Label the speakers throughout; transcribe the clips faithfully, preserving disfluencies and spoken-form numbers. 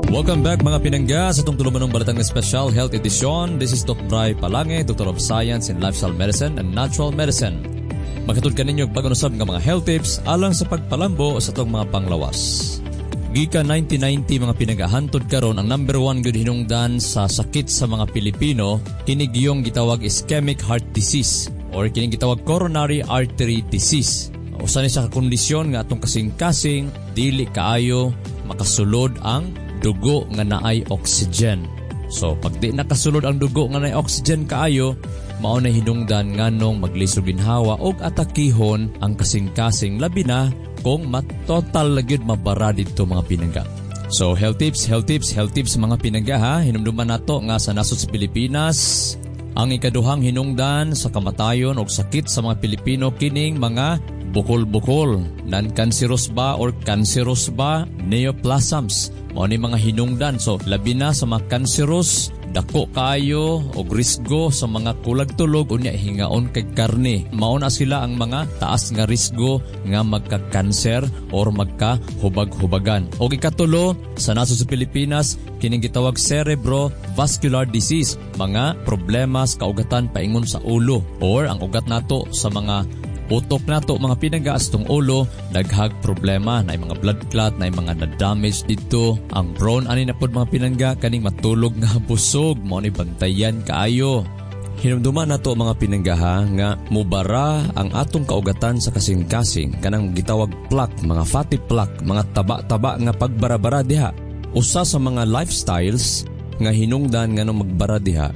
Speaker 1: Welcome back, mga pinangga, sa itong tulumanong Balitang Espesyal Health Edition. This is Doctor Bry Palange, Doctor of Science in Lifestyle Medicine and Natural Medicine. Maghatod kaninyo bag-o usab nga mga health tips alang sa pagpalambo sa atong mga panglawas. Gikan nineteen ninety, mga pinangga, hantod karon, ang number one gud hinungdan sa sakit sa mga Pilipino kini giyong gitawag ischemic heart disease or kini gitawag coronary artery disease. Usa ni sa kondisyon nga atong kasing-kasing dili kaayo makasulod ang dugo nga naay oxygen. So pag di nakasulod ang dugo nga naay oxygen kaayo, mao na hinungdan nganong maglisod ginhawa og atakihon ang kasing-kasing, labi na kung matotal lagi mabara didto, mga pinangga. So health tips, health tips, health tips, mga pinangga, ha. Hinumduman nato nga sa nasod sa Pilipinas, ang ikaduhang hinungdan sa kamatayon og sakit sa mga Pilipino kining mga bukol-bukol, non-cancerous ba or cancerous ba, neoplasms. Mao ni mga hinungdan. So labi na sa mga cancerous, dako kaayo og risgo sa mga kulag tulog, unya hingaon kay karne. Mao na sila ang mga taas nga risgo nga magka-cancer or magka-hubag-hubagan. Og ikatulo sa nasod sa Pilipinas kining gitawag cerebrovascular disease, mga problema sa kaugatan paingon sa ulo or ang ugat nato sa mga utok nato, mga pinangga, sa atong ulo, daghag problema na mga blood clot na mga na-damage dito. Ang prone ani na pod, mga pinangga, kaning matulog nga busog. Mao ni bantayan kaayo. Hinumduman nato, mga pinangga, ha, nga mubara ang atong kaugatan sa kasing-kasing, kanang gitawag plaque, mga fatty plaque, mga taba-taba nga pagbarabara diha. Usa sa mga lifestyles nga hinungdan nga magbara diha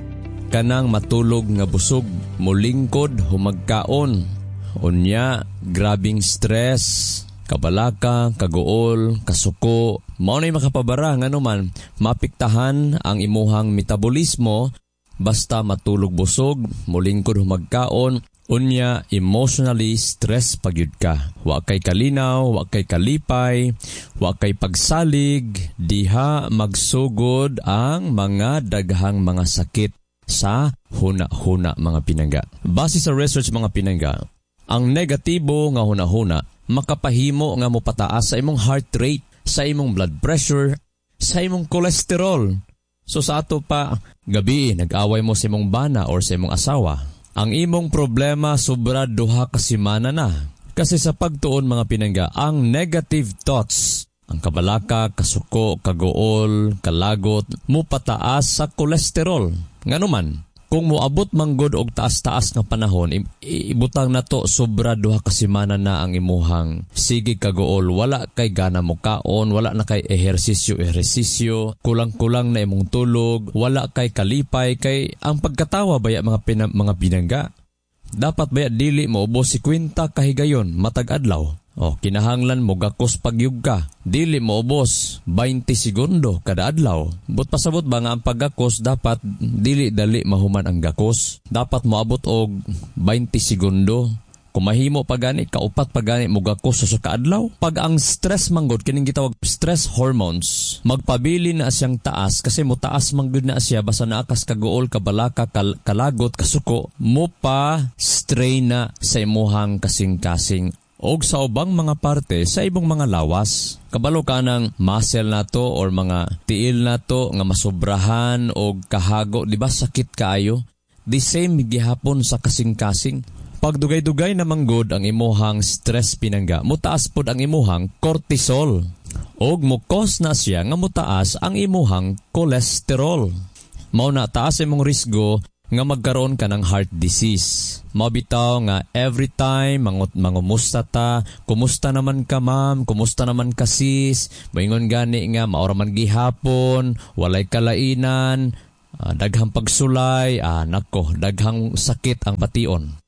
Speaker 1: kanang matulog nga busog, mulingkod humagkaon. Unya, grabing stress, kabalaka, kaguol, kasuko, mao na'y makapabara, nganuman mapiktahan ang imuhang metabolismo basta matulog busog, mulingkod humagkaon, unya emotionally stress pagyud ka. Wa kay kalinaw, wa kay kalipay, wa kay pagsalig, diha magsugod ang mga daghang mga sakit sa huna-huna, mga pinangga. Base sa research, mga pinangga, ang negatibo nga huna-huna makapahimo nga mopataas sa imong heart rate, sa imong blood pressure, sa imong cholesterol. So sa ato pa, gabi nag-away mo sa imong bana or sa imong asawa. Ang imong problema sobra duha ka semana na. Kasi sa pagtuon, mga pinangga, ang negative thoughts, ang kabalaka, kasuko, kaguol, kalagot, mupataas sa kolesterol. Nganuman, kung moabot manggod og taas-taas nga panahon, ibutang nato sobra duha ka semana na ang imuhang sige kaguol, wala kay gana mo kaon, wala na kay ehersisyo ehersisyo, kulang-kulang na imong tulog, wala kay kalipay, kay ang pagkatawa baya, mga pina, mga pinangga, dapat baya dili mo ubos singkwenta kahigayon matag adlaw. Oh, kinahanglan mo gakos pagyug ka. Dili mo ubos twenty segundo kada adlaw. But pasabot ba nga ang paggakos dapat dili dali mahuman ang gakos. Dapat moabot og twenty segundo. Kung mahimo pa gani, kaupat pa gani mo gakos sa kaadlaw. Pag ang stress manggod, kining gitawag stress hormones, magpabili na siyang taas kasi mo taas manggod na siya basta naakas kaguol, kabalaka, kal kalagot, kasuko, mo pa strain na sa imuhang kasing-kasing og sa ubang mga parte sa ibong mga lawas. Kabalo ka ng muscle nato or mga tiil nato nga masobrahan og kahago, di ba sakit kaayo? The same gihapon sa kasing-kasing. Pag dugay-dugay na manggod ang imuhang stress, pinangga, mutaas pod ang imuhang cortisol. Og mukos na siya nga mutaas ang imuhang cholesterol. Mao na taas imong risgo nga magkaroon ka ng heart disease. Mabitaw nga every time mangut mangumusta ta, "Kumusta naman ka, ma'am? Kumusta naman ka, sis?" Moingon gani nga maora man gihapon, walay kalainan, uh, daghang pagsulay, ah, nako, daghang sakit ang bation.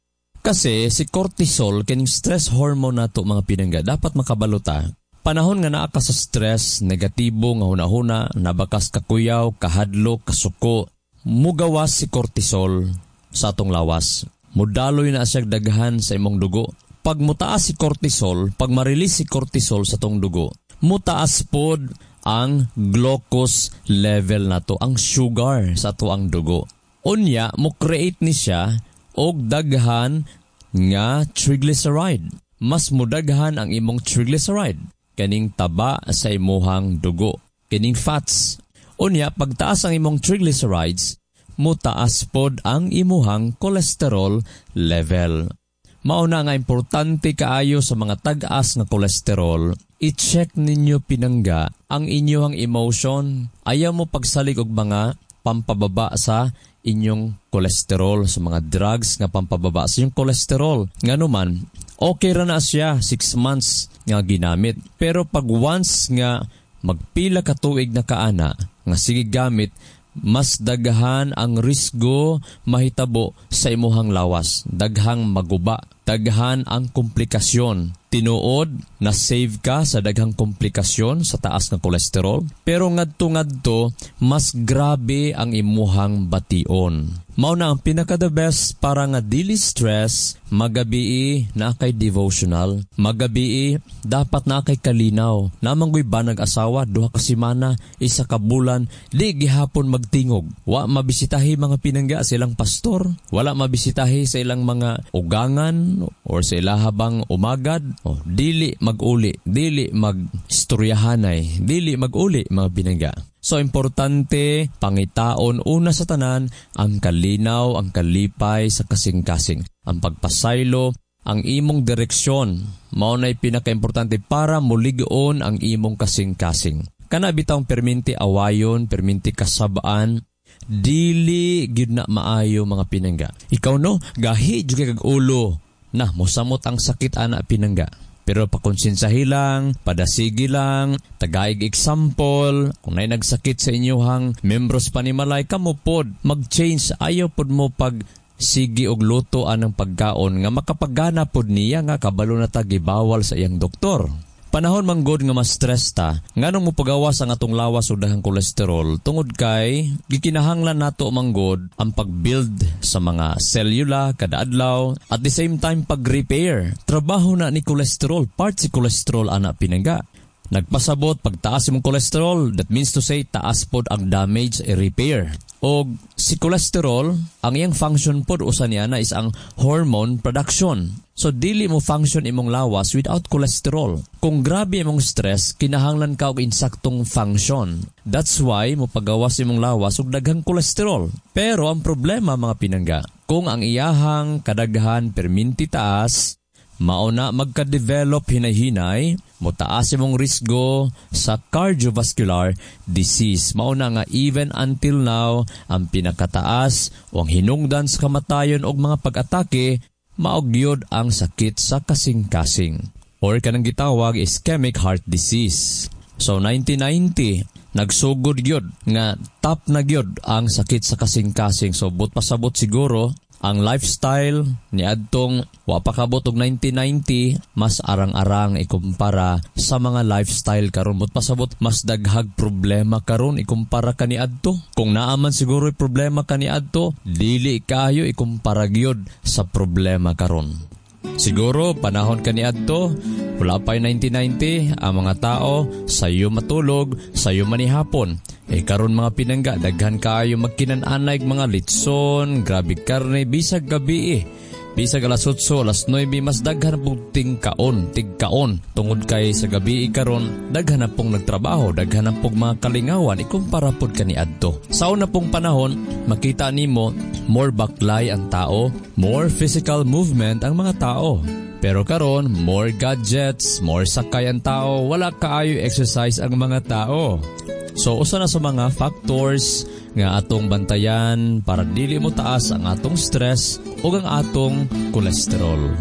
Speaker 1: Kasi si cortisol, kining stress hormone nato, mga pinangga, dapat makabalo ta. Panahon nga naa ka sa stress, negatibo nga hunahuna, nabakas kakuyaw, kahadlok, kasuko, mugawas si cortisol sa atong lawas. Mudaloy na siya daghan sa imong dugo. Pag mutaas si cortisol, pag ma-release si cortisol sa atong dugo, mutaas pod ang glucose level nato, ang sugar sa ato ang dugo. Unya, mo create ni siya og daghan nga triglyceride. Mas mudaghan ang imong triglyceride kaning taba sa imuhang dugo. Kining Kining fats. Unya, pagtaas ang imong triglycerides, mutaas pod ang imuhang cholesterol level. Mao na nga importante kaayo sa mga tag-as nga kolesterol, i-check ninyo, pinangga, ang inyong emotion. Ayaw mo pagsalig og mga pampababa sa inyong kolesterol, sa mga drugs nga pampababa sa inyong kolesterol. Ngano man, okay ra na siya six months nga ginamit. Pero pag once nga magpila ka tuig na kaana nga sige gamit, mas daghan ang risgo mahitabo sa imuhang lawas. Daghang maguba, daghan ang komplikasyon. Tinuod na save ka sa daghang komplikasyon sa taas nga kolesterol, pero ngadto-ngadto mas grabe ang imuhang bation. Mao na ang pinaka the best para nga dili stress, magabii na kay devotional, magabii dapat na kay kalinaw. Namanggoy ba nag-asawa duha ka semana, isa ka bulan, di gihapon magtingog. Wa mabisitahi, mga pinangga, silang pastor, wala mabisitahi sa ilang mga ugangan or sa ilahabang umagad. Oh, dili maguli, dili magstoryahanay, dili maguli, mga pinangga. So importante pangitaon una sa tanan ang kalinaw, ang kalipay sa kasing-kasing. Ang pagpasaylo, ang imong direksyon, mao na'y pinakaimportante para mulig-on ang imong kasing-kasing. Kana bitawng perminti awayon, perminti kasabaan, dili gyud na maayo, mga pinangga. Ikaw no, gahi jud kag ulo. Na mosamot ang sakit ana, pinangga. Pero pakonsinsahi lang, padasigi lang, tagaig example, kung naay nagsakit sa inyuhang membros panimalay, kamo pod, mag-change, ayaw pod mo pag sige og luto anang pagkaon nga makapagana pod niya nga kabalo na ta gibawal sa iyang doktor. Panahon manggod nga mas stress ta, nganong mopagawas ang atong lawas og daghang kolesterol? Tungod kay gikinahanglan nato manggod ang pag-build sa mga selula kada adlaw, at the same time pag-repair. Trabaho na ni kolesterol, part si kolesterol ana, pinangga. Nagpasabot pagtaas imong kolesterol, that means to say taas pod ang damage repair. Og si cholesterol, ang iyang function pod usa niya na is ang hormone production. So dili mo function imong lawas without cholesterol. Kung grabe imong stress, kinahanglan ka og insaktong function. That's why mo pagawas imong lawas og daghang cholesterol. Pero ang problema, mga pinangga, kung ang iyahang kadaghan perminti taas, mao na magka-develop hinay-hinay, motaas imong risgo sa cardiovascular disease. Mao na nga even until now, ang pinakataas o ang hinungdan sa kamatayon og mga pag-atake, mao gyud ang sakit sa kasing-kasing or kanang gitawag ischemic heart disease. So nineteen ninety, nagsugod gyud nga top na gyud ang sakit sa kasing-kasing. So but pasabot siguro ang lifestyle ni adtong wa pa kabot og nineteen ninety mas arang-arang ikumpara sa mga lifestyle karon. But pasabot mas daghag problema karon ikumpara kaniadto. Kung naa man siguro problema kaniadto, dili kayo ikumpara gyud sa problema karon. Siguro panahon kaniadto, wala pa nineteen ninety, ang mga tao sayo matulog, sayo manihapon. Eh karon, mga pinangga, daghan kaayo magkinan-anay mga litson, grabe karne bisag gabi eh. Bisag alas otso, alas nuwebe, mas daghan pong tingkaon, tigkaon. Tungod kay sa gabi karon, daghan na pong nagtrabaho, daghan na pong mga kalingawan, ikumpara pod kaniadto. Sa una pong panahon, makita nimo more baklay ang tao, more physical movement ang mga tao. Pero karon, more gadgets, more sakay ang tao, wala kaayo exercise ang mga tao. So usa na sa mga factors nga atong bantayan para dili mo taas ang atong stress ug ang atong kolesterol.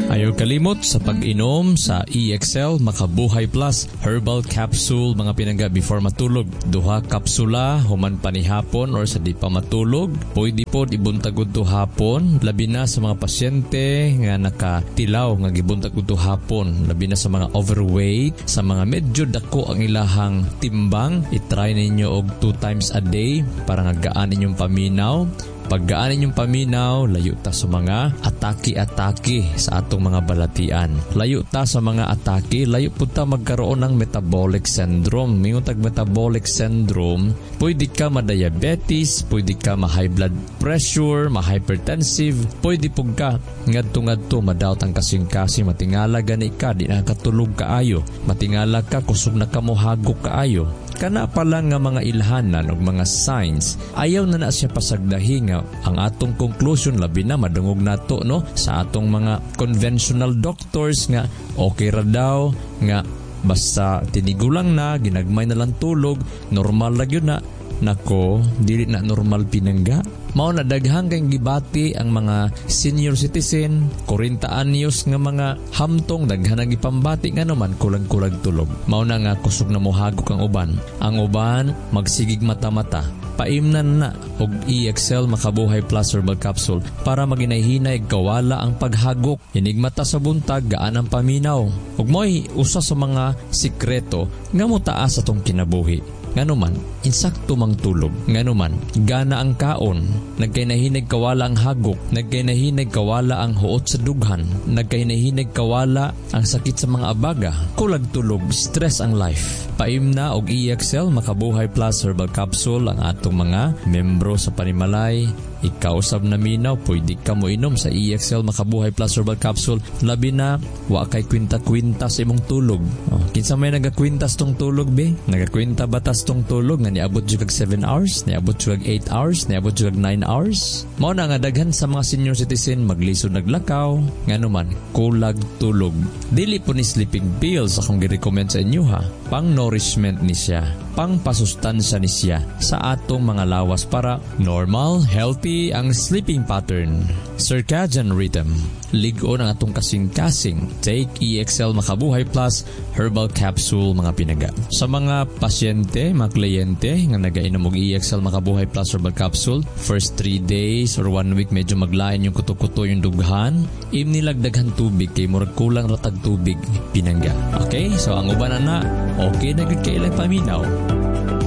Speaker 1: Ayaw kalimot sa pag-inom sa E X L Makabuhay Plus Herbal Capsule, mga pinangga, before matulog. Duha kapsula human panihapon or sa di pa matulog. Pwede pod ibuntag to hapon, labi na sa mga pasyente nga nakatilaw nga gibuntag to hapon, labi na sa mga overweight, sa mga medyo dako ang ilahang timbang, i-try ninyo og two times a day para nga gaan inyong paminaw. Paggaan inyong paminaw, layo ta sa mga atake-atake sa atong mga balatian. Layo ta sa mga atake, layo pud ta magkaroon ng metabolic syndrome. Mingon tag metabolic syndrome, pwede ka ma-diabetes, pwede ka ma-high blood pressure, ma-hypertensive, pwede pud ka ngadto-ngadto madaot ang kasing-kasing, matingala gani ka, di na katulog kaayo, matingala ka, kusog na ka mohagok kaayo. Kana pa lang nga mga ilhanan og mga signs, ayaw na na siya pasagdahi nga ang atong conclusion, labi na madungog nato no sa atong mga conventional doctors nga okay ra daw, nga basta tinigulang na, ginagmay na lang tulog, normal ra gyud na. Nako, dili na normal pinangga. Mao na daghang kay gibati ang mga senior citizen, forty anyos nga mga hamtong, daghan ang gipambati nga naman kulag-kulag tulog. Mao na nga kusog na mohagok ang uban. Ang uban magsigig mata-mata. Paimnan na og E X L Makabuhay Plus Herbal Capsule para maginay-hinay kawala ang paghagok. Inigmata sa buntag, gaan ang paminaw. Ug mo'y usa sa mga sikreto nga motaas atong kinabuhi. Nganuman, insakto mang tulog. Nganuman, gana ang kaon. Nagkainahinag kawala ang hagok. Nagkainahinag kawala ang huot sa dughan. Nagkainahinag kawala ang sakit sa mga abaga. Kulag tulog, stress ang life. Paimna og E X L Makabuhay Plus Herbal Capsule ang atong mga membro sa panimalay. Ikaw sab na minaw, pwede ka mo inom sa E X L Makabuhay Plus Herbal Capsule. Labi na, wa kay kwinta-kwinta sa imong tulog. Oh, kinsa may nagakwintas tong tulog, be? Nagakwinta batas tong tulog nga niabot jud kag seven hours, niabot jud kag eight hours, niabot jud kag nine hours. Mao na nga daghan sa mga senior citizen maglisod naglakaw, nganuman kulag tulog. Dili po ni sleeping pills akong gi-recommend sa inyo ha. Pang nourishment ni siya, pang pasustansya ni siya sa atong mga lawas para normal, healthy ang sleeping pattern, circadian rhythm. Lig-on ang atong kasing-kasing. Take E X L Makabuhay Plus Herbal Capsule, mga pinangga. Sa mga pasyente, mga kliyente nga nagainom og E X L Makabuhay Plus Herbal Capsule, first three days or one week medyo maglain yung kuto-kuto yung dughan, imnilag daghan tubig kay murag kulang ratag tubig, pinangga. Okay? So ang uban na, okay na gud kay ilang paminaw.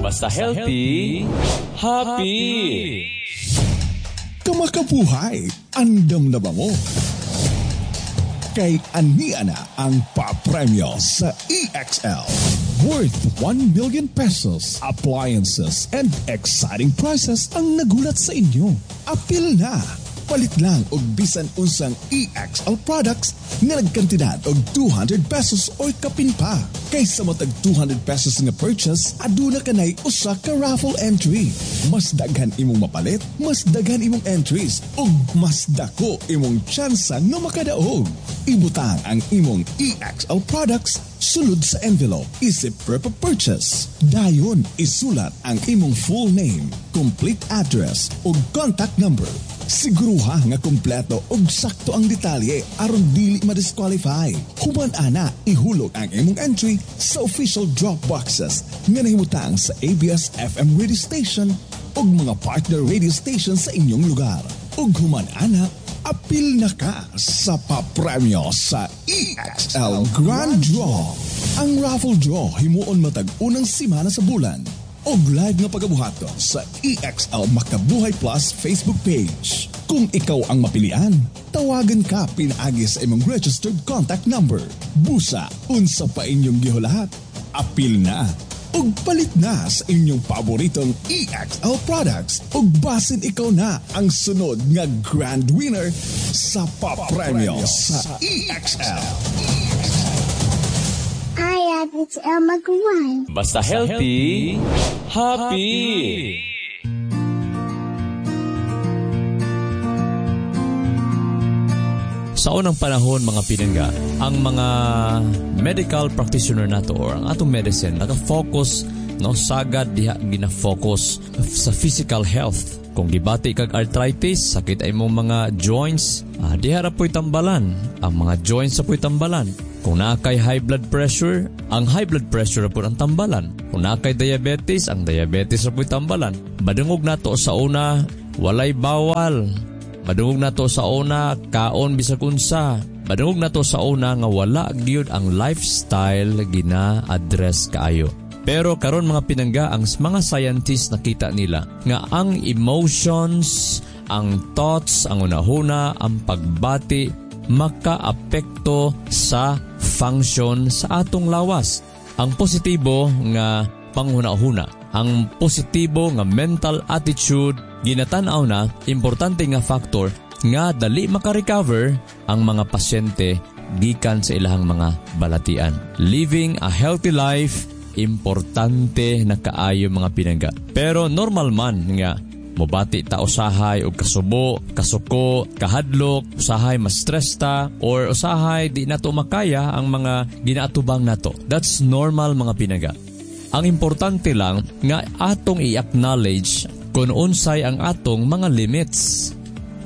Speaker 2: Basta healthy, happy.
Speaker 3: Kamakabuhay, andam na ba mo? Kay ania na ang papremyo sa E X L. Worth one million pesos, appliances, and exciting prizes ang nagulat sa inyo. Apil na! Palit lang og bisan unsang E X L products nga nagkantidad og two hundred pesos or kapin pa. Kaysa matag two hundred pesos nga purchase, aduna kanay usa ka raffle entry. Mas daghan imong mapalit, mas daghan imong entries, ug mas dako imong tsansa nga makadaog. Ibutang ang imong E X L products sulod sa envelope isip proof of purchase. Dayon, isulat ang imong full name, complete address ug contact number. Siguruha nga kompleto ug sakto ang detalye aron dili ma-disqualify. Human ana, ihulog ang imong entry sa official drop boxes nga nahimutang sa A B S F M radio station ug mga partner radio station sa inyong lugar. Ug human ana, apil na ka sa papremyo sa E X L Grand Draw. Ang raffle draw himuon matag unang semana sa bulan og live nga pagabuhaton sa E X L Makabuhay Plus Facebook page. Kung ikaw ang mapilian, tawagan ka pinaagi sa imong registered contact number. Busa, unsa pa inyong gihulahat? Apil na ug palit na sa inyong paboritong E X L products ug basin ikaw na ang sunod nga grand winner sa papremyo sa E X L.
Speaker 4: Hi, it's Elma Guan.
Speaker 2: Basta healthy, happy.
Speaker 1: Sa unang panahon, mga pinangga, ang mga medical practitioner nato or ang atong medicine naka-focus no sagad diha gina-focus sa physical health. Kung gibati kag arthritis, sakit ay mong mga joints, ah, diha ra po'y tambalan. Ang mga joints sa po'y tambalan. Kung naa kay high blood pressure, ang high blood pressure ra pud ang tambalan. Kung naa kay diabetes, ang diabetes ra po'y tambalan. Badungog nato sa una, walay bawal. Madungog nato sa una, kaon bisag unsa. Madungog nato sa una nga wala gyud ang lifestyle gina-address kaayo. Pero karon, mga pinangga, ang mga scientists nakita nila nga ang emotions, Ang thoughts, ang unahuna, ang pagbati, makaapekto sa function sa atong lawas. Ang positibo nga panghuna-huna, ang positibo nga mental attitude, ginatan-aw na importante nga factor nga dali makarecover ang mga pasyente gikan sa ilahang mga balatian. Living a healthy life, importante na kaayo, mga pinangga. Pero normal man nga mobati ta usahay og kasubo, kasuko, kahadlok, usahay ma-stress ta or usahay di nato makaya ang mga ginaatubang nato. That's normal, mga pinangga. Ang importante lang nga atong i-acknowledge kung unsay ang atong mga limits.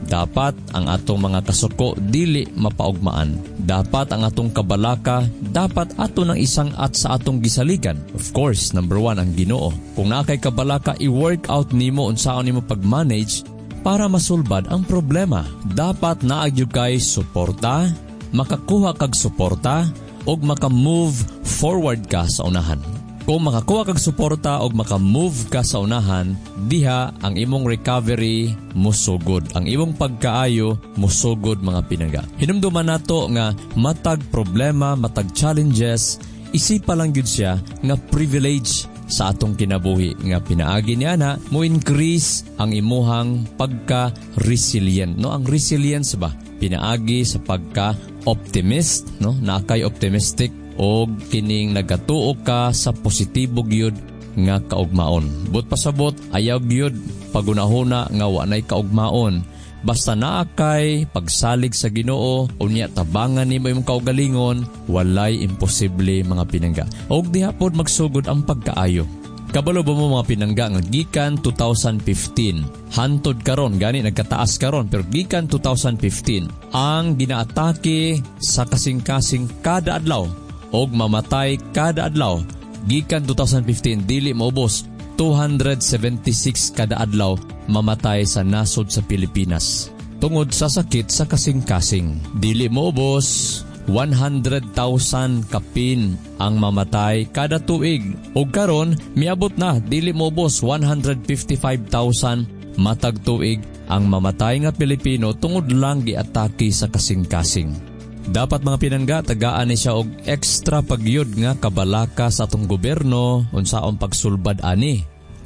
Speaker 1: Dapat ang atong mga kasuko dili mapaugmaan. Dapat ang atong kabalaka, dapat ato ng isang at sa atong gisaligan. Of course, number one, ang Ginoo. Kung naa kay kabalaka, i-work out nimo unsaon nimo pag-manage para masulbad ang problema. Dapat naa gyud kay suporta, makakuha kag suporta, ug maka-move forward ka sa unahan. Kung makakuha kag suporta o maka-move ka sa unahan, diha ang imong recovery musugod. Ang imong pagkaayo musugod, mga pinangga. Hinumduman nato nga matag problema, matag challenges, isipa lang gyud siya nga privilege sa atong kinabuhi nga pinaagi niya na mo increase ang imuhang pagka-resilient, no? Ang resilience ba, pinaagi sa pagka optimist, no? Naa kay optimistic og kining nagatuo ka sa positibo gyud nga kaugmaon. But pasabot, ayaw gyud pagunahuna nga wa nay kaugmaon. Basta naa kay pagsalig sa Ginoo, unya tabangan nimo imong kaugalingon, walay imposible, mga pinangga. Og diha pod magsugod ang pagkaayo. Kabalo ba mo, mga pinangga, nga gikan twenty fifteen hantod karon, gani nagkataas karon, pero gikan twenty fifteen ang ginaatake sa kasing-kasing kada adlaw og mamatay kada adlaw gikan twenty fifteen, dili maubos, two hundred seventy-six kada adlaw mamatay sa nasod sa Pilipinas tungod sa sakit sa kasing-kasing. Dili maubos, one hundred thousand kapin ang mamatay kada tuig. Ug karon miabot na, dili maubos, one hundred fifty-five thousand matag tuig ang mamatay nga Pilipino tungod lang giatake sa kasing-kasing. Dapat, mga pinangga, tagaan ni siya og extra pagyud nga kabalaka sa atong gobyerno unsaon pagsulbad ani.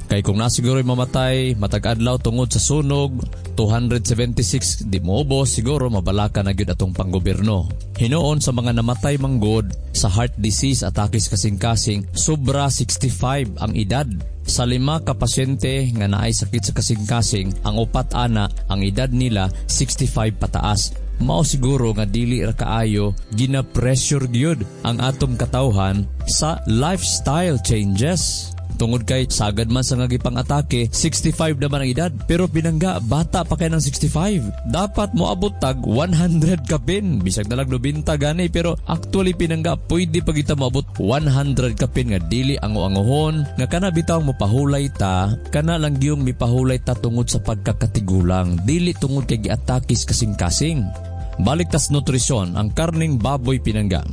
Speaker 1: Kay kung nasiguro mamatay matag adlaw tungod sa sunog two hundred seventy-six, di moubos, siguro mabalaka na gyud atong panggobyerno. Hinuon sa mga namatay manggod sa heart disease, atake sa kasing-kasing, sobra sixty-five ang edad. Sa lima ka pasyente nga naay sakit sa kasing-kasing, ang upat ana ang edad nila sixty-five pataas. Mao siguro nga dili ra kaayo gina-pressure gyud ang atong katawhan sa lifestyle changes. Tungod kay sagad man sa nga gipang-atake, sixty-five naman ang edad. Pero pinangga, bata pa kay ng sixty-five. Dapat moabot tag one hundred kapin. Bisag nalag ninta gani, pero actually, pinangga, pwede pa kita moabot one hundred kapin nga dili ango-angohon, nga kana bitaw mo pahulay ta, kana lang gyung mipahulay ta tungod sa pagkakatigulang, dili tungod kay giatakis kasing-kasing. Balik tas nutrisyon, ang karning baboy, pinangga.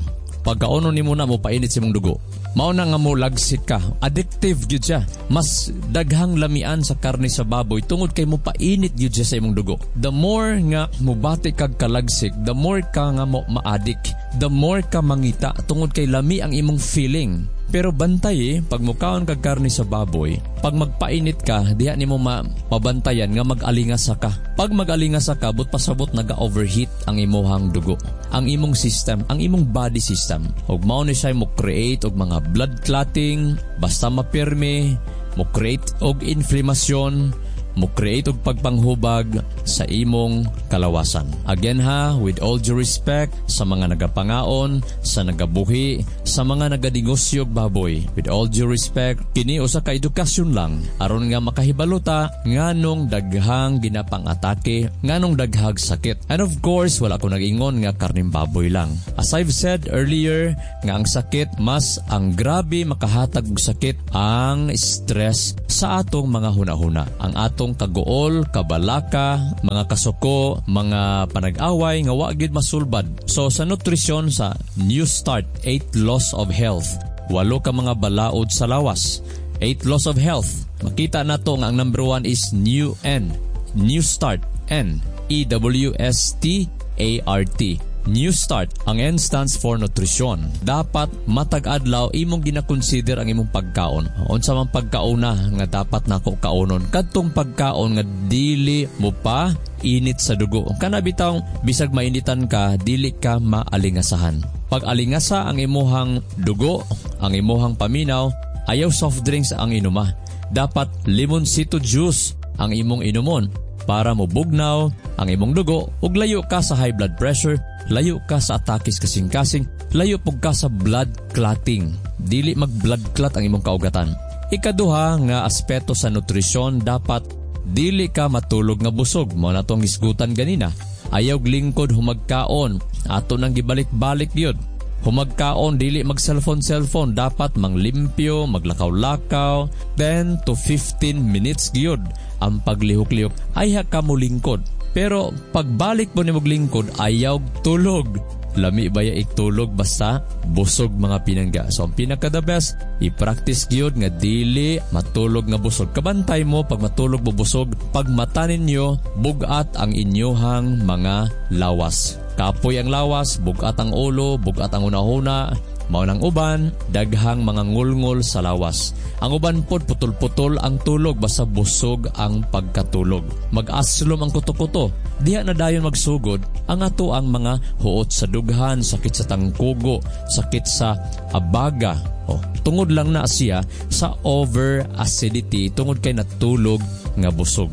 Speaker 1: Pagkaono nimo na, mo painit sa imong dugo. Mao na nga mo lagsik ka. Addictive gyud siya. Mas daghang lamian sa karne sa baboy tungod kay mo painit gyud siya sa imong dugo. The more nga mobati kag kalagsik, the more ka nga mo ma-addict. The more ka mangita tungod kay lami ang imong feeling. Pero bantay eh, pag mukaon kag karne sa baboy, pag magpainit ka, diha nimo ma mabantayan nga mag-alingasa ka. Pag mag-alingasa ka, but pasabot naga-overheat ang imuhang dugo. Ang imong system, ang imong body system. Ug mao ni siya mo create og mga blood clotting, basta mapirmi, mo create og inflamasyon, mo create og pagpanghubag sa imong kalawasan. Again ha, with all due respect sa mga nagapangaon, sa nagabuhi, sa mga naganegosyo og baboy. With all due respect, kini usa ka edukasyon lang aron nga makahibalo ta nganong daghang ginapang-atake, nganong daghag sakit. And of course, wala ko nag-ingon nga karning baboy lang. As I've said earlier, nga ang sakit, mas ang grabe makahatag og sakit ang stress sa atong mga hunahuna. Ang atong kaguol, kabalaka, mga kasuko, mga panag-away nga wa gyud masulbad. So sa nutrisyon sa New Start, eight Laws of Health. Walo ka mga balaod sa lawas. eight Laws of Health. Makita nato nga ang number one is New N. New Start. N E W S T A R T. New Start. Ang N stands for nutrition. Dapat matag adlaw imong gina-consider ang imong pagkaon. Unsa man pagkauna nga dapat nako kaonon? Kadtong pagkaon nga dili mo pa init sa dugo. Kana bitawng bisag mainitan ka, dili ka maalingasahan. Pag alingasa ang imuhang dugo, ang imuhang paminaw, ayaw soft drinks ang inuma. Dapat limonsito juice ang imong inumon para mobugnaw ang imong dugo ug layo ka sa high blood pressure, layo ka sa atakis kasing-kasing, layo pug ka sa blood clotting. Dili mag blood clot ang imong kaugatan. Ikaduha nga aspeto sa nutrisyon, dapat dili ka matulog nga busog. Mao na tong hisgutan ganina. Ayaw lingkod humagkaon. Ato nang gibalik-balik gyud. Humagkaon, dili mag cellphone cellphone, dapat manglimpyo, maglakaw-lakaw, ten to fifteen minutes gyud ang paglihok-lihok. Ayha ka mo lingkod. Pero pagbalik mo nimog lingkod, ayaw tulog. Lami ba ya iktulog basta busog, mga pinangga. So ang pinaka the best, i-practice gyud nga dili matulog nga busog. Kabantay mo pag matulog mo busog, pag mata ninyo, bugat ang inyohang mga lawas. Kapoy ang lawas, bugat ang ulo, bugat ang unahuna, mao nang uban, daghang mga ngulngol sa lawas. Ang uban pod putol-putol ang tulog basta busog ang pagkatulog. Mag-aslom ang kuto-kuto. Diha na dayon magsugod ang ato ang mga huot sa dughan, sakit sa tangkugo, sakit sa abaga. Oh, tungod lang na siya sa over acidity, tungod kay natulog nga busog.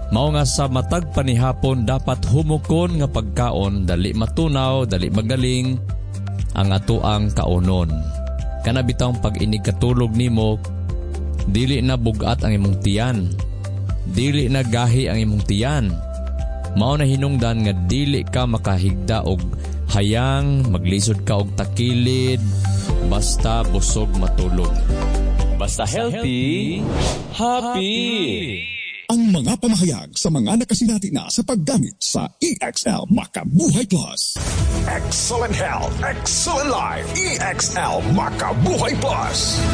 Speaker 1: Mao nga sa matag panihapon dapat humukon nga pagkaon, dali matunaw, dali magaling ang ato ang kaonon. Kana bitawng pag-inig katulog nimo, dili na bugat ang imong tiyan. Dili na gahi ang imong tiyan. Mao na hinungdan nga dili ka makahigda og hayang, maglisod ka og takilid, basta busog matulog.
Speaker 2: Basta healthy, happy.
Speaker 3: Ang mga pamahayag sa mga nakasinati na sa paggamit sa E X L Makabuhay Plus.
Speaker 5: Excellent health, excellent life. E X L Makabuhay Plus.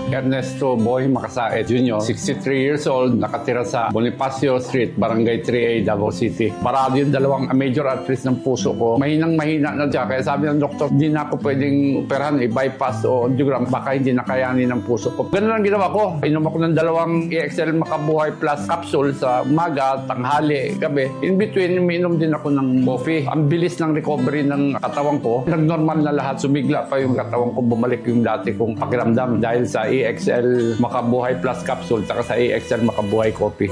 Speaker 6: Ernesto Boy Makasae Junior, sixty-three years old, nakatira sa Bonifacio Street, Barangay three A, Davao City. Barado yung dalawang major arteries ng puso ko. Mahinang mahina na siya. Kaya sabi ng doktor, hindi na ako pwedeng operahan, i-bypass o angiogram. Baka hindi na kayanin ng puso ko. Ganun ang ginawa ko. Inom ako ng dalawang E X L Makabuhay Plus capsule sa umaga, tanghali, gabi. In between, umiinom din ako ng coffee. Ang bilis ng recovery ng katawan ko. Nag-normal na lahat. Sumigla pa yung katawan ko. Bumalik yung dati kong pakiramdam dahil sa E X L Makabuhay Plus capsule saka sa E X L Makabuhay Coffee.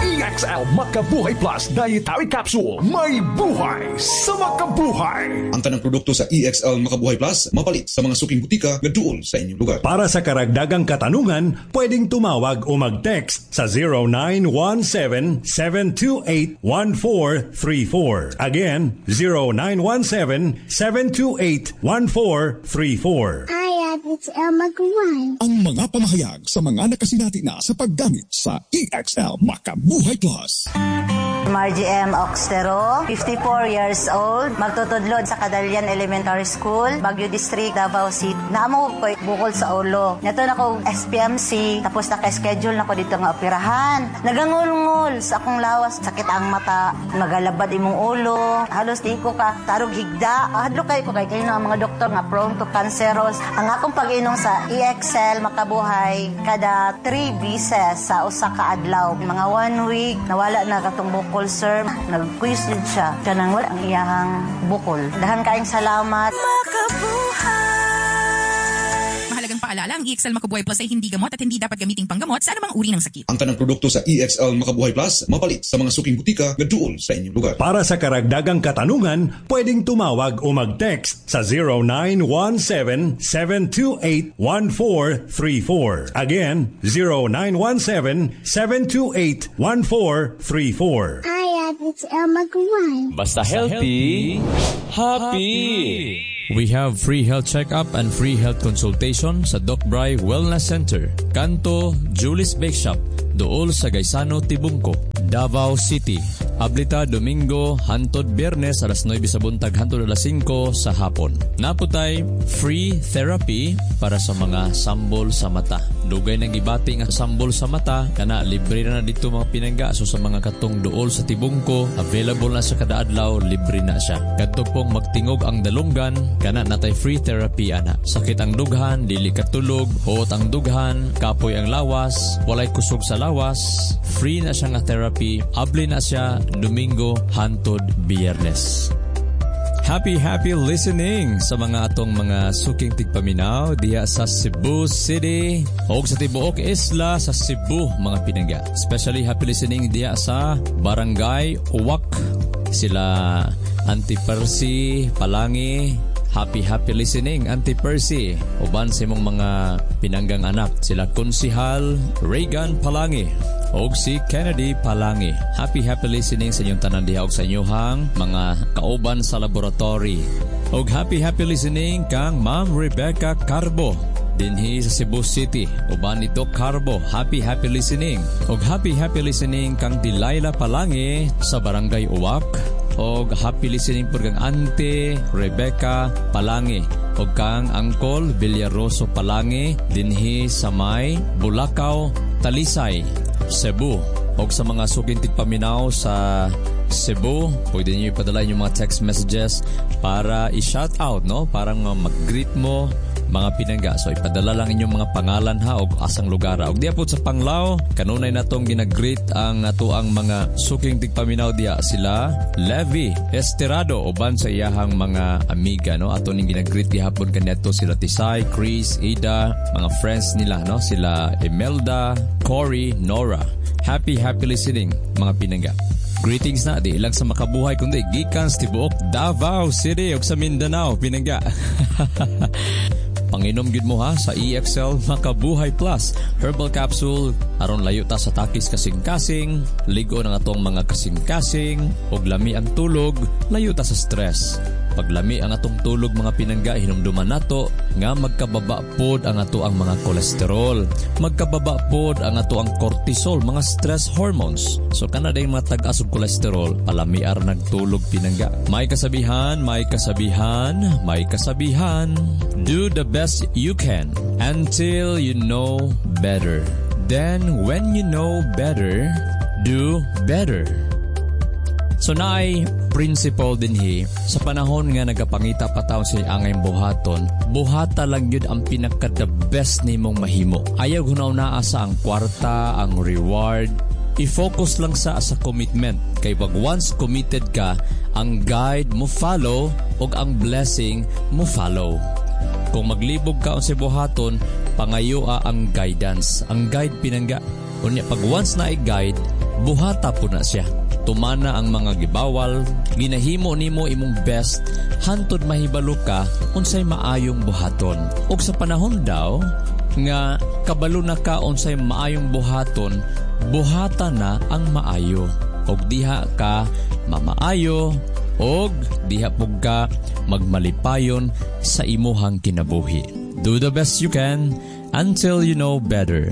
Speaker 5: E X L Makabuhay Plus Dietary Capsule. May buhay sa makabuhay.
Speaker 7: Ang tanang produkto sa E X L Makabuhay Plus mapalit sa mga suking butika nga duol sa inyong lugar.
Speaker 8: Para sa karagdagang katanungan, pwedeng tumawag o mag-text sa zero nine one seven, seven two eight, one four three four. Again, zero nine one seven, seven two eight, one four three four.
Speaker 4: I have it's Elma Guan.
Speaker 3: Ang mga pamahayag sa mga nakasinati na sa paggamit sa E X L Makabuhay Plus.
Speaker 9: Margie M. Oxtero, fifty-four years old, magtutudlod sa Cadalian Elementary School, Baguio District, Davao City. Naamo ko bukol sa ulo. Nato na ko S P M C, tapos naka-schedule na ko dito nga operahan. Nagangulngol sa akong lawas, sakit ang mata, magalabad imong ulo, halos di ko ka tarog higda. Hadlok kay ko kay kayo ang mga doktor nga prone to cancerous. Ang akong pag-inom sa E X L Makabuhay kada three beses sa usa ka adlaw. Mga one week, nawala na katong bukol, sir. Nag-quiz din siya. Kanang wala ang iyahang bukol. Dahan kaayong salamat.
Speaker 10: Mahalagang paalala, ang E X L Makabuhay Plus ay hindi gamot at hindi dapat gamiting panggamot sa anumang uri ng sakit.
Speaker 7: Ang tanang produkto sa E X L Makabuhay Plus mapalit sa mga suking butika nga duol sa inyong lugar.
Speaker 8: Para sa karagdagang katanungan, pwedeng tumawag o mag-text sa zero nine one seven, seven two eight, one four three four. Again, zero nine one seven, seven two eight, one four three four.
Speaker 4: I have it's Elma Guan.
Speaker 2: Basta healthy, happy.
Speaker 1: We have free health checkup and free health consultation sa Doc Bry Wellness Center, Kanto, Julie's Bake Shop, duol sa Gaisano, Tibungco, Davao City. Ablita Domingo, hantod Biyernes, alas nuwebe sa buntag, hantod alas singko sa hapon. Naa putay free therapy para sa mga sambol sa mata. Dugay nang gibati nga sambol sa mata, kana libre na na dito mga pinangga. So sa mga katong duol sa tibungko, available na sa kada adlaw, libre na siya. Kadto pong magtingog ang dalunggan, kana natay free therapy ana. Sakit ang dughan, dili katulog, huot ang dughan, kapoy ang lawas, walay kusog sa lawas, free na siya nga therapy, abli na siya Domingo hantod Biyernes. Happy, happy listening sa mga atong mga suking tigpaminaw diha sa Cebu City o sa tibuok isla sa Cebu mga pinangga. Especially happy listening diha sa Barangay Uwak. Sila Auntie Percy Palangi. Happy, happy listening, Auntie Percy. Uban sa imong mga pinanggang anak. Sila Konsihal Reagan Palangi og si Kennedy Palangi. Happy, happy listening sa inyong tanan diha og sa inyong mga kauban sa laboratory. Og happy, happy listening kang Ma'am Rebecca Carbo dinhi sa Cebu City. Uban ni Doc Carbo. Happy, happy listening. Og happy, happy listening kang Delilah Palangi sa Barangay Uwak. Og happy listening pud kang Auntie Rebecca Palangi og kang Uncle Villaroso Palangi dinhi sa may Bulacau, Talisay, Cebu. Og sa mga suking tigpaminaw sa Cebu, pwede niyo ipadala inyong mga text messages para i-shout out, no? Parang mag-greet mo mga pinangga. So ipadala lang inyong mga pangalan ha og asang lugar. Og diya po sa Panglao, kanunay natong ginagreet ang atoang mga suking tigpaminaw diya sila Levi Esterado uban sa iyahang mga amiga no. Ato ning ginagreet gihapon kaniadto sila Tisay, Chris, Ida, mga friends nila no, sila Imelda, Cory, Nora. Happy happy listening mga pinangga. Greetings na di lang sa makabuhay kundi gikan sa tibuok Davao City ug sa Mindanao pinangga. Panginom gyud mo ha sa E X L Makabuhay Plus Herbal Capsule aron layo ta sa takis kasing-kasing, ligo ng atong mga kasing-kasing ug lami ang tulog, layo ta sa stress. Paglami ang atong tulog mga pinangga, hinumduman nato nga magkababa pod ang ato ang mga kolesterol, magkababa pod ang ato ang cortisol, mga stress hormones. So kana day mga tag-as og kolesterol, palamiar nagtulog pinangga. May kasabihan, may kasabihan, may kasabihan. Do the best you can until you know better. Then when you know better, do better. So naay principle dinhi sa panahon nga nagapangita pa taon sa angay buhaton, buhata lang gyud ang pinaka the best nimong mahimo. Ayaw hunaw-naa sa ang kwarta, ang reward. I-focus lang sa sa commitment. Kay pag once committed ka, ang guide mo follow ug ang blessing mo follow. Kung maglibog ka unsay buhaton, pangayoa ang guidance. Ang guide pinangga. Unya pag once na i-guide, buhata po na siya. Tumana ang mga gibawal, ginahimo nimo imong best, hantod mahibalo ka unsay maayong buhaton. Ug sa panahon daw nga kabalo na ka unsay maayong buhaton, buhata na ang maayo. Og diha ka mamaayo, og diha pug ka magmalipayon sa imuhang kinabuhi. Do the best you can until you know better.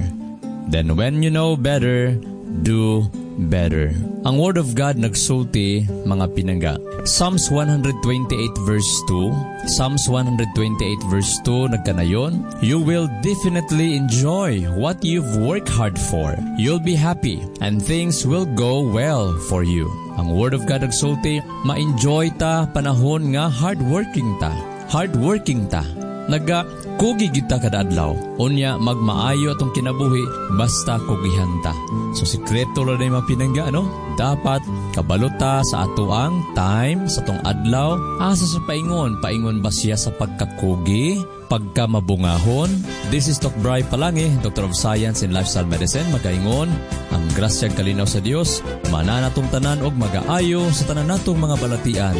Speaker 1: Then when you know better, do better. Ang Word of God nagsulti mga pinangga. Psalms one twenty-eight verse two. Psalms one twenty-eight verse two nagkanayon, you will definitely enjoy what you've worked hard for. You'll be happy and things will go well for you. Ang Word of God nagsulti, ma-enjoy ta panahon nga hardworking ta. Hardworking ta. Naga kugi kita kada adlaw. Unya magmaayo atong kinabuhi basta kugihan ta. So sikreto ra day mapinangga no? Dapat kabalo ta sa ato ang time sa tong adlaw. Asa sa paingon? Paingon ba siya sa pagkakugi? Pagka mabungahon? This is Doc Bry Palangi, Doctor of Science in Lifestyle Medicine. Magaingon ang grasya kalinaw sa Dios, mananatong tanan og magaayo sa tanan natong mga balatian.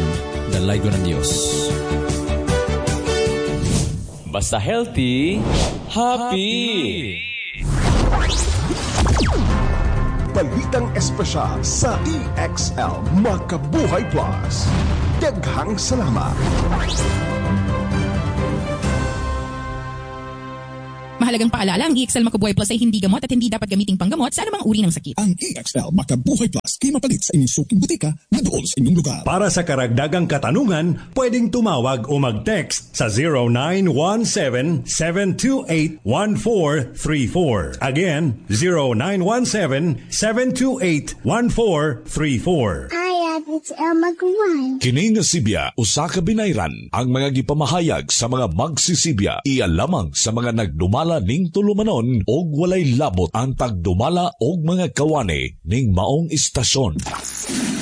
Speaker 1: Dalaygon ang Dios.
Speaker 2: Basta healthy, happy.
Speaker 5: Balitang espesyal sa E X L Makabuhay Plus. Daghang salamat.
Speaker 10: Mahalagang paalala, ang E X L Makubuhay Plus ay hindi gamot at hindi dapat gamiting panggamot sa anumang uri ng sakit.
Speaker 3: Ang E X L Makabuhay Plus kay mapalit sa inyong suking butika nga duol sa inyong lugar.
Speaker 8: Para sa karagdagang katanungan, pwedeng tumawag o mag-text sa zero nine one seven, seven two eight, one four three four. Again, zero nine one seven, seven two eight, one four three four.
Speaker 4: I X L Mag one.
Speaker 11: Kini nga sibya usa ka binayran. Ang mga gipamahayag sa mga magsisibya iya lamang sa mga nagdumala ning tulumanon og walay labot ang tagdumala og mga kawani ning maong istasyon.